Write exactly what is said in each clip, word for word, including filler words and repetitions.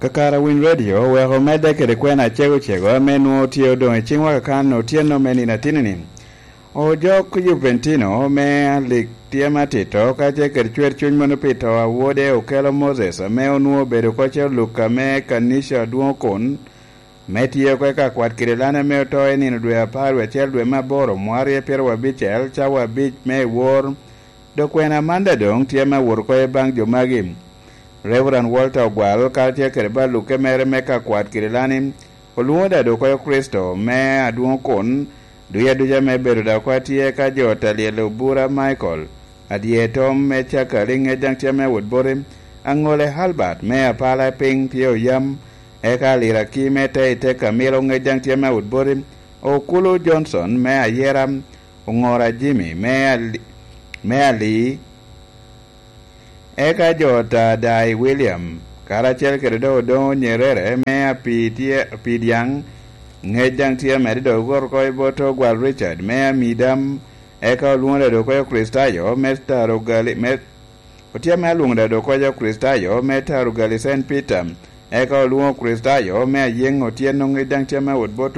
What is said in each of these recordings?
Kakare a Winy Radio oweko omedde kede kwena acego cego ame nwoŋo tye odoŋ i ciŋwa kakan otyeno me nino atinni-ni. Ojok Juventino me alik tye me atito kacel kede cwer cuny mano pi to a wode Okello Moses ame onwoŋo obedo oko ce oluk ame kanica adwoŋ kun me tye oko i ka kwat kede lan ame oto i nino dwe apar wie acel dwe me aboro mwarye pyeraryo abicel cawa abic me i wor. Dok kwena man daŋ doŋ tye me awot oko i baŋ jo magi. Reverend Walter Ogwal karacel kede balukke mere me ka kwat kede lani olwoŋo daŋ dok oko Kricito me adwoŋ kun duca duca me bedo daŋ oko atye ka jo ta lyel obura Michael adye tom me cakali ŋec daŋ tye me awot boti aŋole Albert me apala piny tye oyam eka aliraki me te i te kamilo ŋec daŋ tye me awot boti okulu Johnson me ayera oŋora Jimmy me ali, me ali eka jo ta Dai William karacel kede doŋ odoŋo Nyerere me api tye api dyaŋ ŋec daŋ tye amedde dok ogot oko i bot Ogwal Richard me amidam eka olwoŋo ladok oko Kricitayo me taro gali me otye ame alwoŋo ladok oko Kricitayo me taro gali Saint Peter eka olwoŋo Kricitayo me ayeŋ otyeno ŋec daŋ tye ame awot bot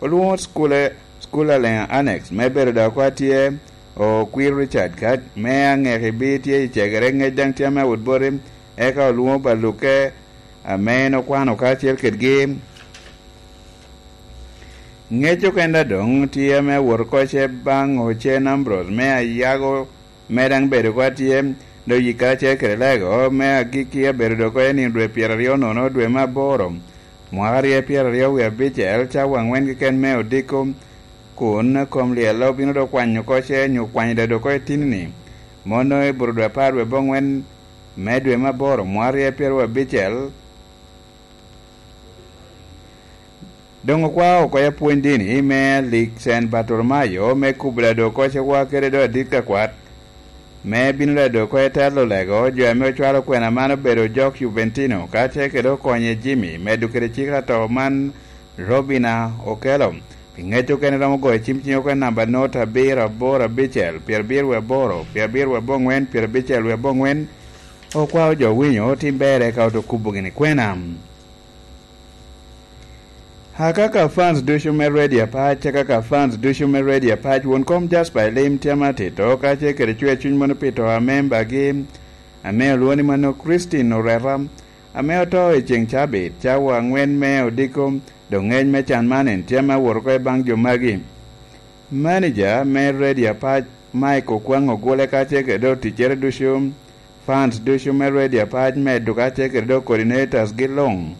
olwoŋo School School Alliance Annex me bedo dok oko atye okwir Richard ka me aŋeki bi tye i cegere ŋec daŋ tye ame awot boti eka olwoŋo balukke ame en okwano karacel kedgi. Ŋec okenda doŋ tye ame awot oko ce baŋ Ocen Ambrose me ayago me daŋ bedo oko atye dok yik karacel kede lego me agikki abedo dok oko i nino dwe pyeraryo nono dwe me aboro mwaka rye pyeraryo wie abicel cawa aŋwen keken me odiko kun kom lyel obino dok kwanyo oko ce nyo kwanyo dado oko i tinni mono i bur dwe apar dwe aboŋwen me dwe me aboro mwaka rye pyeraryo abicel. Doŋ okwao oko i apwony dini me alik Cen Bartolomayo me kubo ladok oko cewa kede do adit ka kwat me bino ladok oko i telo lego jo ame ocwalo kwena man obedo ojok Juventino kacel kede okonye Jimmy medo kede cik ato man Robina Okello. Pi ŋec okene romo goyo cim cing oko i namba not abiro aboro abicel pyerabiro wie aboro pyerabiro wie aboŋwen pyerabicel wie aboŋwen. Okwao jo winyo tim ber eka oto kubo gini kwena. Akaka fans ducu me Radio Apac, akaka fans ducu me Radio Apac, won kom Jasper Elim tye ame atito, kacel kede cwer cuny mono pi to a membagi, ame olwoŋo ni mano Christine Oreta, ame oto i ceŋ cabit, cawa aŋwen me odiko, dok ŋec me can man en tye ame awot oko i baŋ jo magi. Manager me Radio Apac, Mike Okwaŋ Ogule, kacel kede dok ticcere ducu, fans ducu me Radio Apac, medo kacel kede dok coordinators gi luŋ.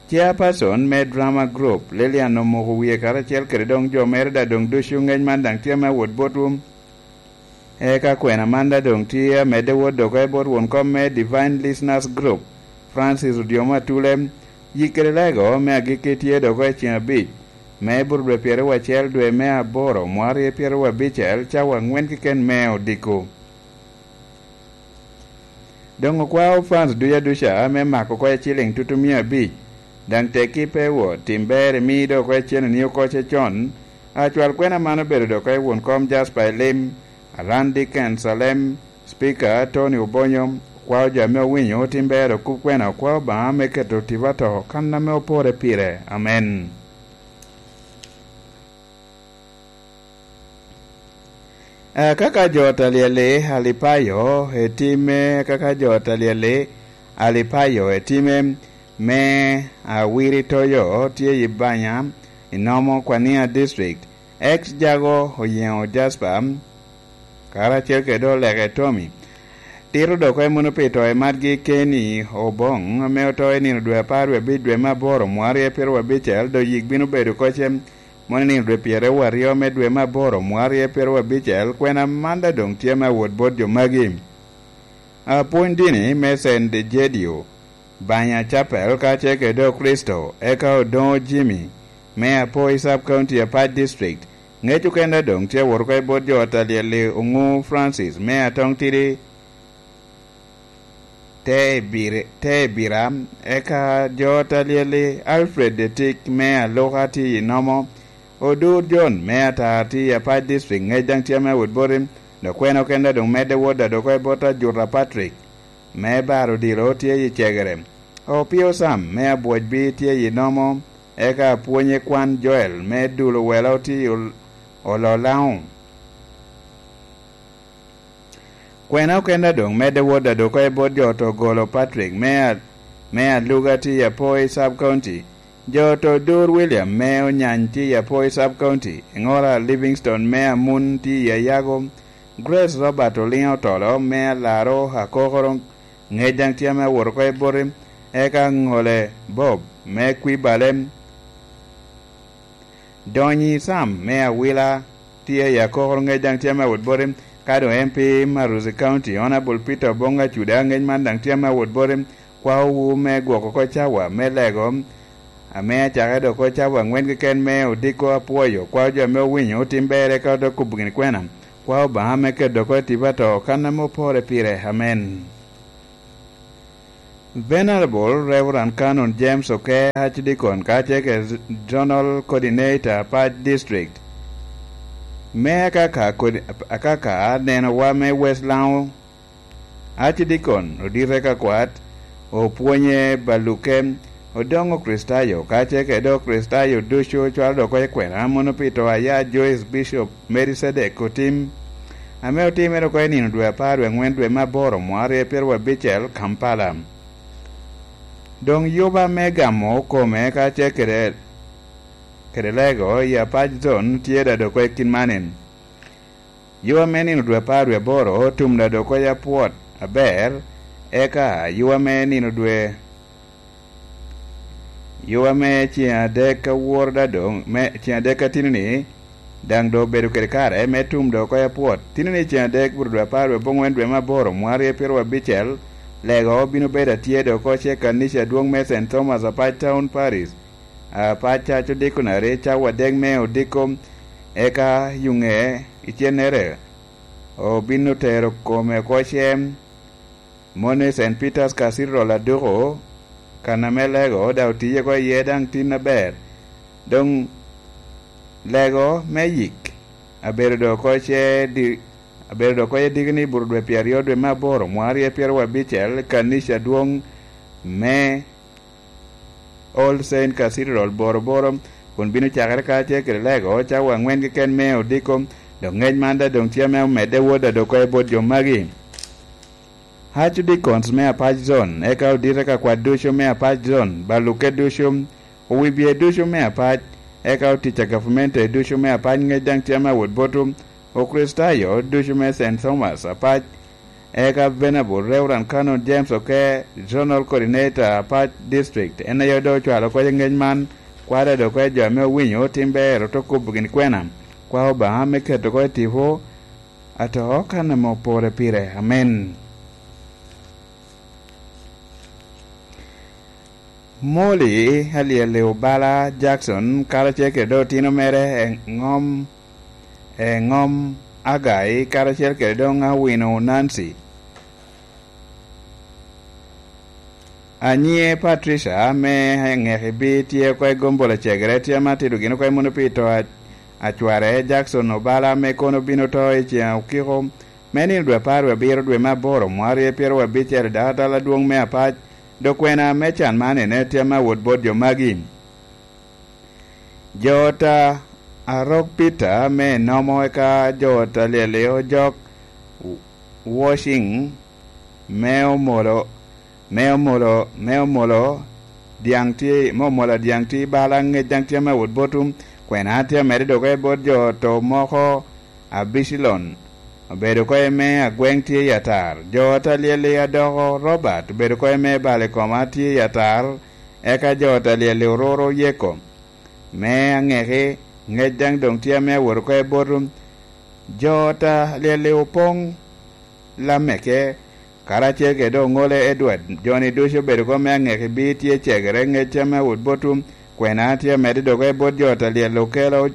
Chairperson me drama group, Lilian Omoko Wie karacel kede doŋ jo mere daŋ doŋ ducu ŋec man daŋ tye me awot botwu. Eka kwena man daŋ doŋ tye amedde wot dok i bot won kom me Divine Listeners Group, Francis Odiomo Atule, yik kede lego me agikki tye dok i ceng abic, me burudwe pyeraryo acel dwe me aboro, mwaka rye pyeraryo abicel, cawa aŋwen keken me odiko. Doŋ okwao fans duca duca me mako oko i ciliŋ tutu mia abic, daŋ tekki pe wot, tim ber imi dok oko i cen oniyo oko ce con. Acwal kwena man obedo dok oko i won kom Jasper Elim, Aran Dickens Alem, Speaker Tony Obonyo, okwao jo ame owinyo tim ber okub kwena okwao Obaŋa me keto tipo ato kan ame opore pire. Amen. Akaka jo ta lyel-li Alipayo etime, akaka jo ta lyel-li Alipayo etime me Awiri Toyo tye i Banya, i Nomo Kwania District. Ex Jago Oyeŋo Jasper, karacel kede Oleke Tommy. Tito dok oko i muno pi to i matgi Kenny Oboŋ, ame oto i nino dwe apar wie abic dwe me aboro mwaka rye pyeraryo abicel, dok yik bino bedo oko ce mono i nino dwe pyeraryo aryo me dwe me aboro mwaka rye pyeraryo abicel, kwena man daŋ doŋ tye me awot bot jo magi. Apwony dini me Saint Egidio, Banya Chapel, kacel kede Okricito, eka Odoŋo Jimmy, me Apoi Sub County Apac District, ŋec okene doŋ tye awot oko i bot jo ot alyel-li Oŋu Francis, me Atoŋ Tidi, te i Biri-, te i Bira, eka jo ot alyel-li Alfred Etik, me Aluka tye i Nomo, Odur John, me Atar tye i Apac District, ŋec daŋ tye ame awot boti, dok kwena okene doŋ medde wot adoko i bot Ajuta Patrick, me Baro Odilo tye i Cegere. Opio Sam me Abwocbi tye i nomo, eka apwonye kwan Joel me Dul Owelo tye i Ol-, Ololaŋo. Kwena okenda doŋ medde wot adoko i bot jo oto golo Patrick me a-, me Aluga tye i Apoi Sub County. Jo oto Dur William me Onyany tye i Apoi Sub County. Eŋola Livingstone me Amun tye i Ayago. Grace Robert Oliŋo Otolo me Alaro Akokoro ŋec daŋ tye ame awot oko i boti. Eka Ŋole Bob me Kwibale. Donyi Sam me Awila tye i Akokoro ŋec daŋ tye ame awot boti. Ka doŋ M P Maruzi County, Honorable Peter Obong Acuda ŋec man daŋ tye ame awot boti. Kwaowu me gwoko oko cawa me lego ame acake dok oko cawa aŋwen keken me odiko apwoyo. Kwao jo ame owinyo otim ber eka ote kubo gin kwena. Kwao Obaŋa me keto oko i tipo ato kan ame opore pire. Amen. Venerable Reverend Canon James Oke, Archdeacon, ka tye kede Zonal Coordinator, Apac District, me akaka kodi, akaka nenowa me West Lango, Archdeacon Odite Kakwat, opwonye Baluke, odoŋ Okricitayo, ka tye kede Okricitayo ducu cwalo dok oko i kwena, mono pi to aya Joyce Bishop Melkisedek otim, ame otimere oko i nino dwe apar wie aŋwen dwe me aboro mwaka aryo pyeraryo abicel, Kampala. Doŋ yuba me gamo kome ka tye kede, kede lego i Apac Zone tye daŋ dok oko i kin manin. Yuba me nino dwe apar wie aboro otum daŋ dok oko i apwot aber, eka yuba me nino dwe Yuba me ceŋ adek ka woro daŋ doŋ, me ceŋ adek ka tino-ni, daŋ doŋ obedo kede kare me tum doŋ oko i apwot. Tino-ni ceŋ adek, bur dwe apar wie aboŋwen dwe me aboro, mwaka aryo pyeraryo abicel, lego bino bedo atye doŋ oko ce kanica adwoŋ me Saint Thomas Apac Town Parish, Apac Church Diconary, cawa adek me odiko, eka yuŋe icennere obino tero kome oko cem. Moni Saint Peter's Cathedral aduko, kan ame lego daŋ otiye oko iye daŋ tin aber. Doŋ lego me yik abedo doŋ oko ce di-, abedo doŋ oko i diki ni bur dwe pyeraryo dwe me aboro, mwaka aryo pyeraryo abicel, i kanica adwoŋ me All Saint Cathedral, Boroboro, kun bino cakere kacel kede lego cawa aŋwen keken me odiko. Dok ŋec man daŋ doŋ tye ame omedde wot adoko i bot jo magi. Archdeacons me Apac Zone, eka odite ka kwat ducu me Apac Zone, baluke ducu, owibye ducu me Apac, eka otic a gavamente ducu me Apac ŋec daŋ tye ame awot botu, Okricitayo ducu me Saint Thomas Apac, eka Venerable Reverend Canon James Oke, Zonal Coordinator Apac District, en aye doŋ ocwalo oko i ŋec man, kwade doŋ oko i jo ame owinyo otim ber, ote kubo gin kwena, kwa Obaŋa me keto oko i tipo, ato kan ame opore pire. Amen. Molly alyel i Obala Jackson, karacel kede doŋ otino mere Eŋom, Eŋom Agai, karacel kede doŋ Awino Nancy. Anyiŋe Patricia ame aŋeki bi tye oko i gombol acegere, tye ame atito gin oko i muno pi to a-, acware Jackson Obala ame kono bino to i ceŋ okiko me nino dwe apar wie abiro dwe me aboro mwaka aryo pyeraryo abicel i dakatal adwoŋ me Apac. Dok kwena me can man ene tye ame awot bot jo magi. Jo ot a Arok Peter me Enomo, eka jo ot a Lyelio Jok Washing me Omolo, me Omolo, me Omolo Dyaŋ tye, me Omolo Dyaŋ tye bala ŋec daŋ tye ame awot botu. Kwena tye amedde doge bot jo ot moko, Abicilon obedo oko me agweŋ tye i atar. Jo ot a Lyelio Adoko Robert obedo oko me bal i koma tye i atar. Eka jo ot a Lyelio Ororo Yeko me aŋeki, ŋec daŋ doŋ tye ame awot oko i botu. Jo ot a Lyelio Opoŋ Lameke, karacel kede Oŋole Edward, jo-ni ducu obedo oko me aŋeki bi tye cegere ŋec ame awot botu. Kwena tye amedde doge bot jo ot a Lyelio Okelo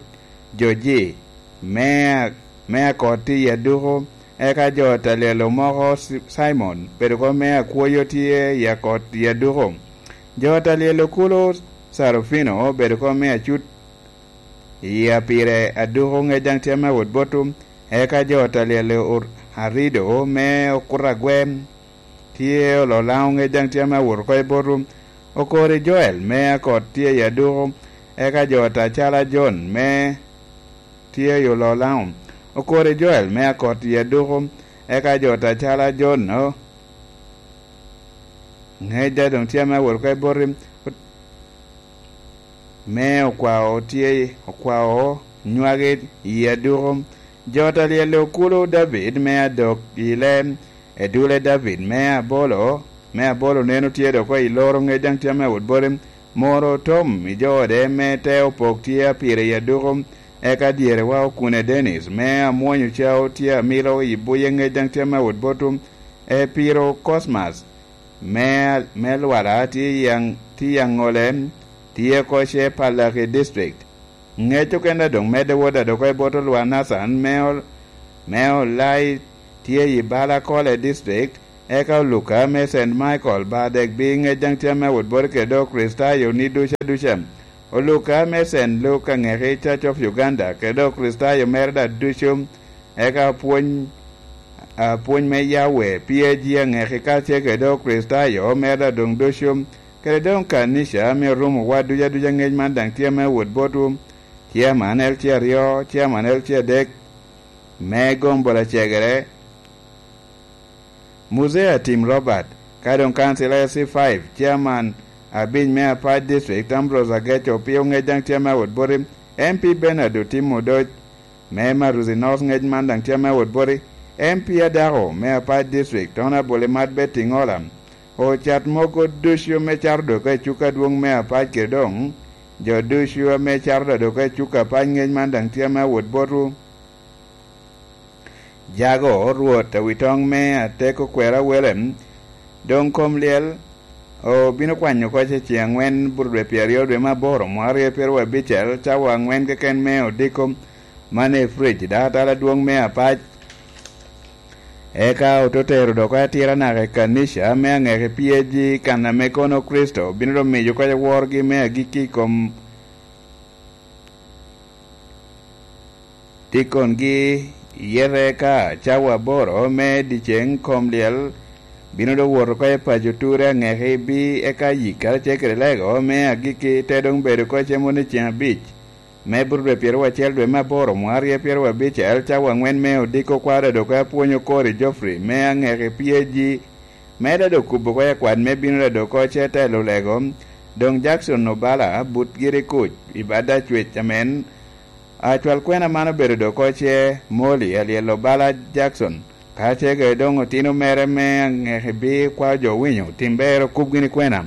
Joji me, me akot tye i aduko, eka jo ot a Lyelio moko Si-, Simon, obedo oko me akwoyo tye i akot i aduko. Jo ot a Lyelio Kulu Sarufino obedo oko me acut i apire aduko ŋec daŋ tye ame awot botu, eka jo ot a Lyelio Or-, Arido me okuto agwem, tye olo Laŋo ŋec daŋ tye ame awot oko i botwu. Okori Joel me akot tye i aduko, eka jo atacala Jon me tye i olo Laŋo. Okori Joel me akot i aduko, eka jo atacala Jon-no ŋec daŋ tye ame awot oko i botwu. Me okwao tye, okwao nywagi i aduko. Jo ta lyel okulo David me adok i lem, edule David me abolo, me abolo neno tye dok i loro ŋec daŋ tye ame awot boti. Moro otom i jo ode me te opok tye apire i aduko, eka dyerewa okune Dennis me amwonyo cao tye amilo i buye ŋec daŋ tye ame awot botwu. Epiro Cosmas me, me Lwala tye i Aŋ-, tye i Aŋole, tye oko ce Palaki District. Ŋec okene doŋ medde wot adoko i bot Olwa Nathan me Ol-, me Olai tye i Balakole District, eka Oluka me Saint Michael Badek bi ŋec daŋ tye ame wot bot kede Okricitayo ni duca duca. Oluka me Saint Luke aŋeki Church of Uganda kede Okricitayo mere daŋ ducu. Eka pwony, a, pwony me Yahweh, P A G aŋeki kacel kede Okricitayo mere doŋ ducu, kede doŋ kanica ame orumo wa duca duca ŋec man daŋ tye ame wot botwu. Chairman L C aryo, Chairman L C adek, me gombo lacegere, Muzea Tim Robert, ka doŋ kancil L C five, Chairman abic me Apac District, Ambrose Ageco, pio ŋec daŋ tye ame wot boti, M P Bernard Otim Odoc, me Maruzi North ŋec man daŋ tye ame wot boti, M P adako me Apac District, Honorable Imat Betty Ŋola, ocat mogo ducu me cato dok i cuk adwoŋ me Apac kede doŋ jo ducu ame cato dok i cuk Apac ŋec man daŋ tye ame wot botwu. Jago, Rwot, awi toŋ me atek okwero awele, doŋ kom lyel obino kwanyo oko ce ceŋ aŋwen, buto dwe pyeraryo dwe me aboro, mwaka aryo pyeraryo abicel, cawa aŋwen keken me odiko, man i Frigidaire, dala adwoŋ me Apac. Eka ote tero dok atira naka i kanica me aŋeki P A G, kan ame kono Kricito bino doŋ miyo oko ce worgi me agikki i kom dikongi, iyete ka cawa aboro me dyeceŋ kom lyel bino doŋ wot oko i paco Ture aŋeki bi eka yik karacel kede lego me agikki te doŋ bedo oko cem wot i ceŋ abic me buto dwe pyeraryo acel dwe me aboro mwaka aryo pyeraryo abicel, cawa aŋwen me odiko kwaro dok apwony okori Geoffrey me aŋeki P A G, me dado kubo oko i akwat me bino dado oko ce telo lego, doŋ Jackson Obala but giri kuc i bad acwec amen. Acwal kwena man obedo dok oko ce Molly Alyel Obala Jackson, kacel kede doŋ otino mere me aŋeki bi kwao jo owinyo, tim ber okub gini kwena.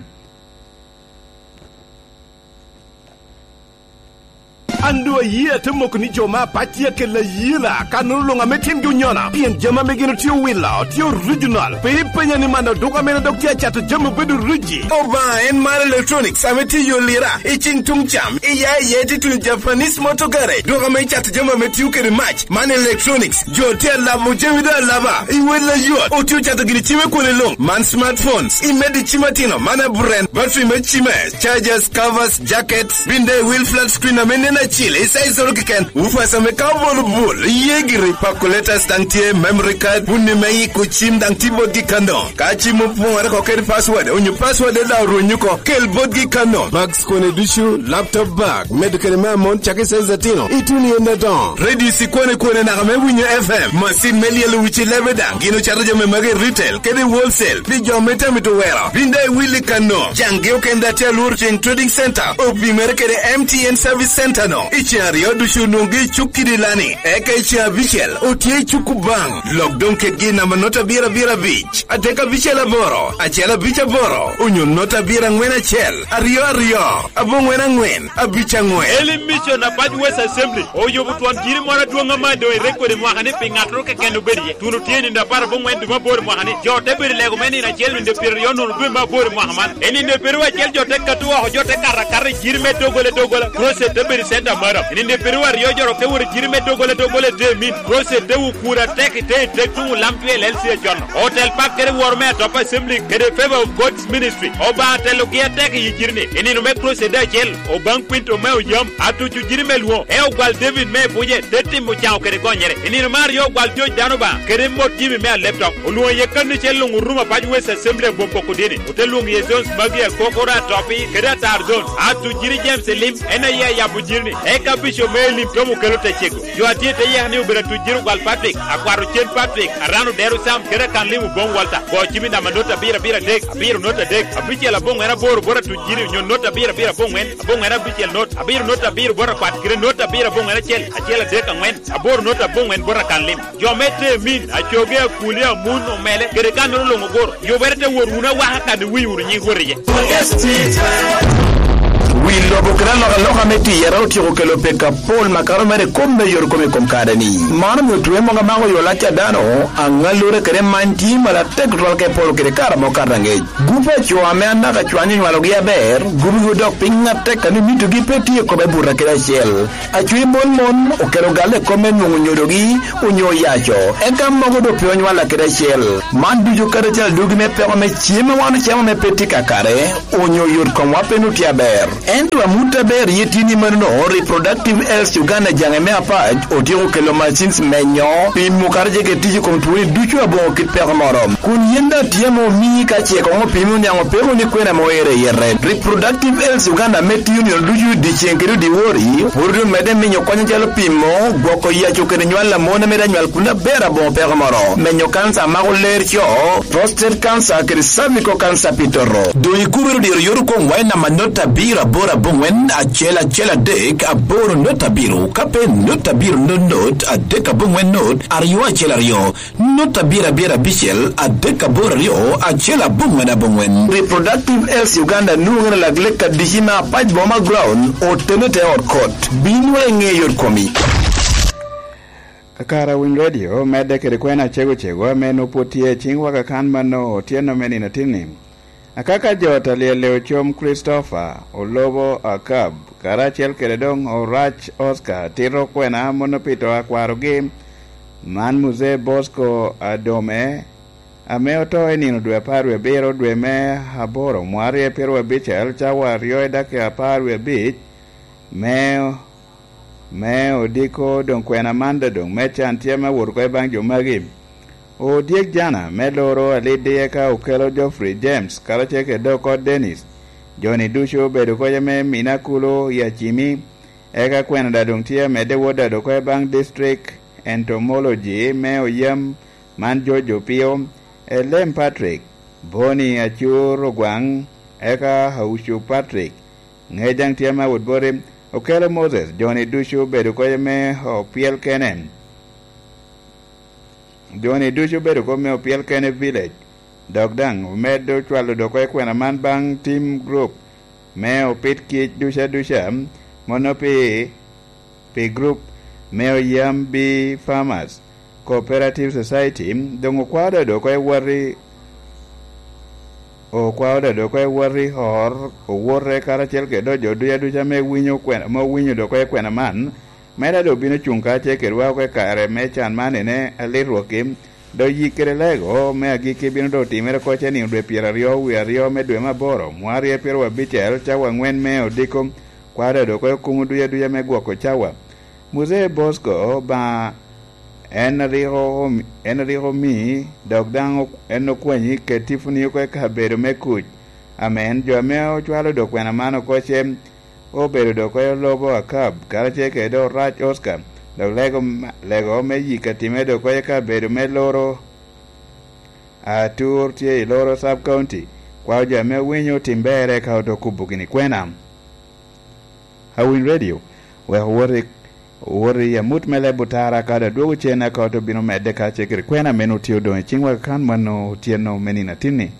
An doŋ ayie ate moko ni jo me Apac tye akella yela, kannono luŋ ame timgi onyona, pien jami ame gin otye owilo tye original. Pe ipenya ni man oduka mene dok tye acato jami obedo riji. Obaŋa en mar Electronics ame tye i yo Lira, i ceng tuŋ cam, i ya i ye tye tuno Japanese Motor Garage, duka ame cato jami ame tio kede mac. Man Electronics, jo tye alabo jami doŋ alaba, i wel ayot, otye ocato gini cime kwone luŋ. Man smartphones, i medo i cim atino, man aburen, battery me cime, chargers, covers, jackets, bin daŋ i wil flat screen ame nen acil, i size oro keken, woofers ame ka obolo bul, iye giri, calculators daŋ tye, memory card, wunni me iko cim daŋ tye botgi kano. Ka cim opoŋore oko kede password, onyo password daŋ orwenyo oko, kel botgi kano. Bags kone ducu, laptop bag, medo kede me amon cakki size atino, ituno i ende adoŋo. Radio i kwane kwane naka me winyo F M, macin me lyelo wic i lebe daŋ, gin ocato jami magi i retail kede i wholesale pi jo ame tye amito wero. Bin daŋ iwil i kano, caŋgi okende atye alworo ceŋ Trading Center, opimere kede M T N Service Center no. I ceŋ aryo ducu onwoŋogi i cuk kidi lani, eka i ceŋ abicel otye i cuk Kubaŋ. Lok doŋ kedgi i namba nota abiro abiro abic, adek abicel aboro, acel abic aboro, onyo nota abiro aŋwen acel, aryo aryo, aboŋwen aŋwen, abic aŋwen. Elim Mission Apac West Assembly oyubo twon jiri moro adwoŋ ame doŋ irekodi mwaka ni pi ŋattoro keken obed iye. Tuno tye i nino apar aboŋwen dwe me aboro mwaka ni, jo te bedo i lego me nino acel nino pyeraryo nono dwe me aboro mwaka man. I nino pyeraryo acel jo te kato oko, jo te kato akata i jiri me doggola doggola. Crusade te bedo i center Maro, i nino piriwo aryo joro ke woro jiri me doggola doggola i te min, process te wukura tek i te i tek tuŋ olam twe L L C acon. Hotel Park kede woro me Atop Assembly kede Favor of God's Ministry. Obaŋa telogi atek i jiri ni. I nino me process de acel, Obaŋ Quinto me Oyam, atuco jiri me lwo, e ogwal David me Ebuje, te timo caŋo kede gonyere. I nino me aryo ogwal George Dano Obaŋa, kede mot Jimmy me Aleptok. Olwoŋo iye kanni cel luŋ orumo apac West Assembly abom poko dini. Ote lwoŋo iye zones magi akokoro atopi, kede atar zone. Atuco jiri James Elim, en aye ayabo jiri ni. Eka Bishop me Elim Tom okelo te cego. Jo a tye i te yeka ni obedo atuc jiri ogwal Patrick, akwat ocen Patrick, Arano Dero Sam, kede akan lim Oboŋ Walter. Go cim i namba not abiro abiro adek, abiro not adek, abicel aboŋwen aboro bot atuc jiri, onyo not abiro abiro aboŋwen, aboŋwen abicel not, abiro not abiro bot akwat, kede not abiro aboŋwen acel, acel adek aŋwen, aboro not aboŋwen bot akan lim. Jo me te min, acoge, akuli, amun, omele, kede kannoro luŋ ogoro. Yubere te wot wunu awaka kan iwiny wunu nying Rwot iye. Wi lobo kede alokaloka me tiyere otyeko kelo pek apol makato mere i kom me yot kome i kom kare-ni. Man omio twe mogo amako yo lac a dano, aŋallure kede many tye malatek tutwal ka iporo kede kare amo kato aŋec. Gup a co ame anaka cwany onywalogi aber, gup-gi odok piny atek a ni mitogi pe tye i kome buto kede acel. Acwiny mon mon okelo galle i kome nwoŋo nyodogi onyo oyaco, eka mogo doŋ pe onywalla kede acel. Man ducu kadi acel adugi me peko me cem a wan ocamo ame pe tye kakare, onyo yot komwa pe nwoŋo tye aber. Ento amut aber ye tye ni manono, Reproductive Health Uganda jaŋe me apac otyeko kelo machines menyo, pimo kadi ce kede tic i kom twoni ducu aboŋo kit peko moro. Kun yen daŋ tye ame omii ka ce koŋ opimi oniaŋ opeko ni kwena ame oero i yete. Reproductive Health Uganda ame tiyo nino ducu dyeceŋ kede dyewor-ri, pwod omedde minyo kony acalo pimo, gwoko yaco kede nywal a mon ame daŋ nywal kun aber aboŋo peko moro, menyo kanca a mako ler co, prostate cancer kede cervical cancer pi toto. Doŋ ikubere dyero yot okoŋwa i namba not abiro aboro aboŋwen acel acel adek aboro not abiro, ka pe not abiro not not adek aboŋwen not aryo acel aryo. Not abiro abiro abicel, adek aboro aryo, acel aboŋwen aboŋwen. Reproductive Health Uganda nwoŋere lak lek adici me apac boma ground, otene te ot kot. Bin wek iŋe yot komi. Kakara Winy Radio medde kede kwena cego cego ame nwoŋo pwod tye i ciŋwa kakan mano otyeno me nino atinni. Akaka jo ta lyelle ocom Christopher, Olobo Akab, karacel kede doŋ Orac Oscar tito kwena mono pi to a kwarogi, man Muzee Bosco Adome, ame oto i nino dwe apar wie abiro dwe me aboro mwarre pyeraryo abicel cawa aryo i dakika apar wie abic, me, me odiko doŋ kwena man doŋ me can tye me wot oko i baŋ jo magi. Odyek Jana me loro aliddi eka okelo Geoffrey James karacel kede Okot Dennis. Jo-ni ducu obedo kocca me Minakulu i Acimi, eka kwena daŋ doŋ tye amedde wot daŋ oko i baŋ District Entomology me Oyam man George Opio, Elem Patrick, Boni Acur Ogwaŋ, eka Aucu Patrick, Ŋejaŋ tye ame awot boti, okelo Moses, jo-ni ducu obedo kocca me opyel kene. Jo-ni ducu obedo kop me opyel kene village, dok daŋ omedde ocwalo doko i kwena man baŋ team group me opit kic duca duca, mono pi, pi group me Oyam Bee Farmers Cooperative Society, doŋ okwao dado oko i woti, okwao dado oko i woti or, owote karacel kede jo duca duca me winyo kwena, me owinyo doko i kwena man, me dado obino cuŋ karacel kedwa oko i kare me can man ene alit rwokki, dok yik kede lego me agikki bino doŋ timere oko ce nino dwe pyeraryo wie aryo me dwe me aboro, mwarre pyeraryo abicel, cawa aŋwen me odiko, kwao dado oko i kumo duca duca me gwoko cawa. Muzee Bosco Obaŋa, en rik omi-, en rik omii, dok daŋ ok-, en okwanyi ket tiponi oko i kabedo me kuc. Amen. Jo ame ocwalo dok kwena man oko ce obedo dok oko i Olobo Akab, karacel kede Orac Oscar, dok lego ma-, lego me yik atime dok oko i kabedo me Loro Atur tye i Loro Sub County. Kwao jo ame winyo tim berre ka oto kubo gini kwena. Awiny Radio, wek owot i, owot i amut me leb otara, kadi adwogo cen aka oto bino medde ka ce kede kwena meno tye odoŋ i ciŋwa kan mano otyeno me nino atinni.